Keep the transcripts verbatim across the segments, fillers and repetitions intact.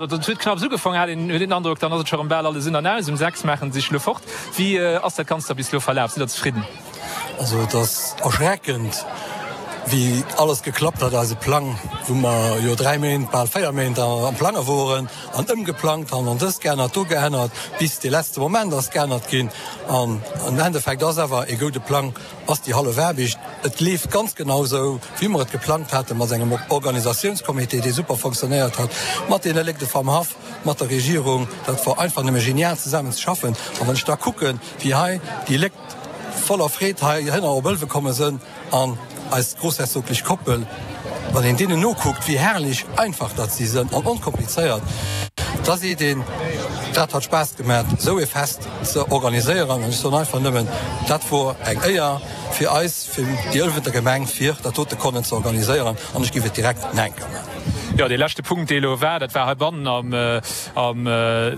Et huet knapps ugefaangen, hat een huet een den Androck, dann ass et scho rëm bal alles un an aus. Um sechs maachen se sech elo fort. Wéi ass dat Ganzt da bis elo verlaf? Sidd der zefridden? Also et ass erschreckend, wéi alles geklappt hat. Eise Plang, wou mer jo dräi Méint, bal véier Méint am Plange woren an ëmgeplangt han an dëst geännert, do geännert, bis dee letzte Moment ass geännert ginn. An am Endeffekt ass awer ee goude Plang ass déi hallef Aarbecht. Et leeft ganz genau esou, wéi mer et geplangt haten, mat engem Organisatiounscomité, dee super fonctionnéiert hat, mat deene Léckte vam Haff, mat der Regierung. Dat wor einfach nëmme genial zesammen ze schaffen. An wann ech da kucken, wéi hei déi Léckt voller Freed heihinner op Ëlwe komme sënn an eis groussherzoglech Koppel, wann een deenen nokuckt, wéi herrlech einfach datt si sënn an onkomplizéiert, da seet een, dat hat Spaass gemat, esou ee Fest ze organiséieren. An ech soen einfach nëmmen, dat wor eng Éier fir eis, fir déi Ëlwenter Gemeng, fir dat dote konnen ze organiséieren. An ech géif et direkt nach eng Kéier maachen. Jo, dee leschte Punkt, dee elo war, dat war heibannen am, am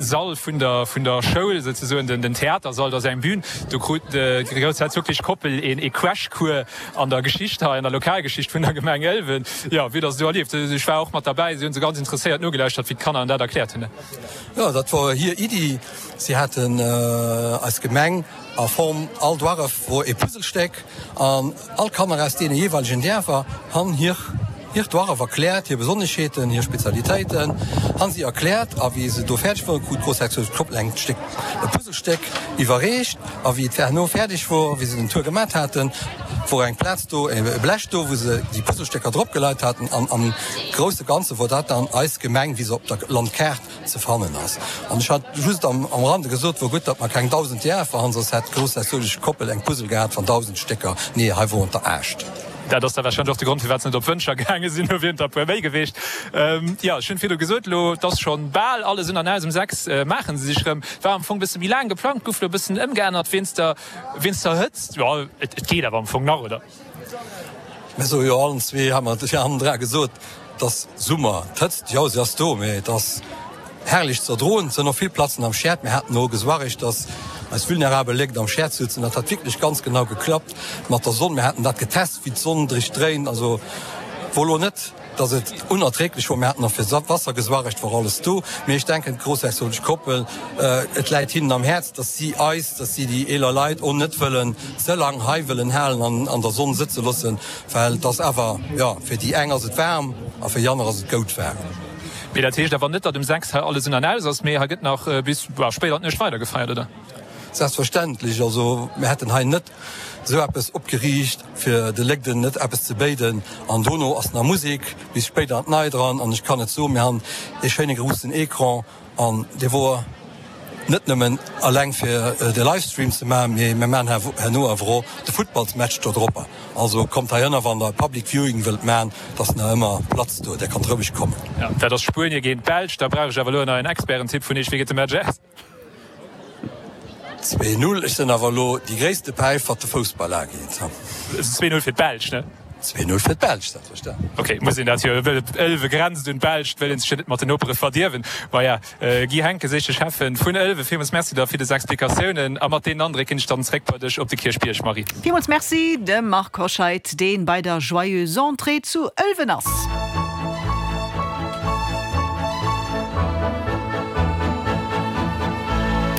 Sall vun der, vun der Schoul, souzesoen den, den Theatersall, do ass eng Bühn, do krut déi groussherzoglech Koppel een, ee Crashcours an der Geschicht hei, an der Lokalgeschicht vun der Gemeng Ëlwen. Jo, wéi hutt Der se do erlieft? Ech war och mat derbäi, si hu se ganz interesséiert nogelauschtert, wéi d'Kanner dat erkläert hunn. Jo, dat wor hir Iddi. Si haten eis Gemeng a Form, all Duarref wor ee Puzzlestéck an all Kanner aus deene jeeweilegen Däerfer han hir hiert Duarref erkläert, hir Besonneschheeten, hir Spezialitéiten han si erkläert. A wéi se do fäerdeg woren, krut d'Groussherzogin Koppel eng Stéck, e Puzzlestéck iwwerreecht. A wéi et herno fäerdeg wor, wéi se den Tour gemat haten, wor eng Plaz do, e Blech do, wou se déi Puzzlestécker drop geleit haten. An am grousse Ganze wor dat dann eis Gemeng, wéi se op der Landkaart ze fannen ass. An ech hat just am Rande gesot, wor gutt, datt mer keng dausend Dierfer han, soss hätt d'groussherzoglech Koppel eng Puzzle gehat van dausend Stécker. Nee, hei woren der aascht. Dat ass da warscheinlech och de Grond, firwat se net op Wëntger gaange sinn. Do wieren der e puer méi gewiescht. Jo, ech hunn virdu gesot, elo, et ass scho bal alles un an aus. Um sechs maache se sech erëm. War am Fong e bësse méi laang geplangt, gouf elo e bëssen ëmgeännert wéinst der, wéinst der Hëtzt. Jo, et geet awer am Fong nach, oder? Mir soe jo allen zwee, ha mer hannendra gesot, Et ass Summer, d'Hëtzt, jo, se ass do, mee et ass herrlech ze erdroen. Et sënn och vill Platzen am Schäert. Mir haten och gesuarregt, dass eis vulnerabel Léckt am Schäert sutzen. Dat hat wierklech ganz genau geklappt mat der Sonn. Mir haten dat getest, wéi d'Sonn drich dréint. Also wor lo net, dass et unerträglech wor. Mir haten och fir Wasser gesuarregt, wor alles do. Mee ech denken, d'groussherzoglech Koppel, et läit hinnen am Häerz, dass si eis, dass si déi eeler Leit och net wëllen ze lang hei wëllen halen an an der Sonn sëtze loossen. Well et ass awer, jo, fir déi eng ass et waarm a fir déi aner ass et goud waarm. Mee dat heescht awer net, datt um sechs hei alles un an aus ass, mee hei gëtt nach bis spéit an d'Nuecht weider gefeiert, oder? Selbstverständlech. Also mir hätten hei net esou eppes opgeriicht, fir de Léckden net eppes ze béiden. An dono ass nach Musek bis spéit an d'Neit eran. An ech kann et soen, mir han ee schéine groussen Ecran an dee wor net nëmmen alleng fir de Livestream ze maachen, mee mir maachen herno awer och de Futtballsmatch do dropper. Also kommt heihinner wann der Public Viewing wëllt maachen, et ass nach ëmmer Platz do, der kannt roueg kommen. Jo, dat ass Spuenie géint d'Belsch. Da brauch ech awer elo en neien Expertentipp vun Iech. Wéi geet de Match aus? Zwee Null. Ech sinn awer elo déi gréisste Päif wat de Foussball ageet. Zwee Null fir d'Belsch, ne? Zwee Null fir d'Belsch, selbstverständlech. Ok, muss een dat jo, wëll et Ëlwe grenzt un d'Belsch, wëll een sech jo net mat den Nopere verdierwen. Maja, Guy Henckes, éischte Schäffen vun Ëlwen, villmools Merci da fir des Explikatiounen. A mat deenen Andréck ginn ech dann zréck bei dech op de Kierchbierg, Marie. Villmools Merci dem Marc Hoscheid, deen bei der Joyeuse Entrée zu Ëlwen ass.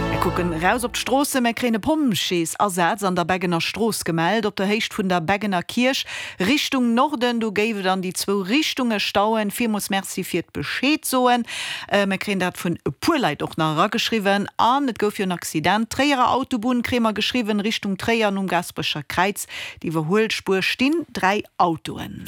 Mir kucken eraus op d'Stroossen. Mir kréien e Pompjeesasaz an der Beggener Strooss gemellt, op der Héicht vun der Beggener Kierch Richtung Norden. Do géif et an déi zwou Richtunge stauen. Villmools Merci fir d'Bescheed soen. Mir kréien dat vun e puer Leit och nach erageschriwwen. An et gouf jo en Accident. Tréierer Autobunn kréie mer geschriwwen, Richtung Tréier nom Gaasperecher Kräiz. D'Iwwerhuelspuer stinn dräi Autoen.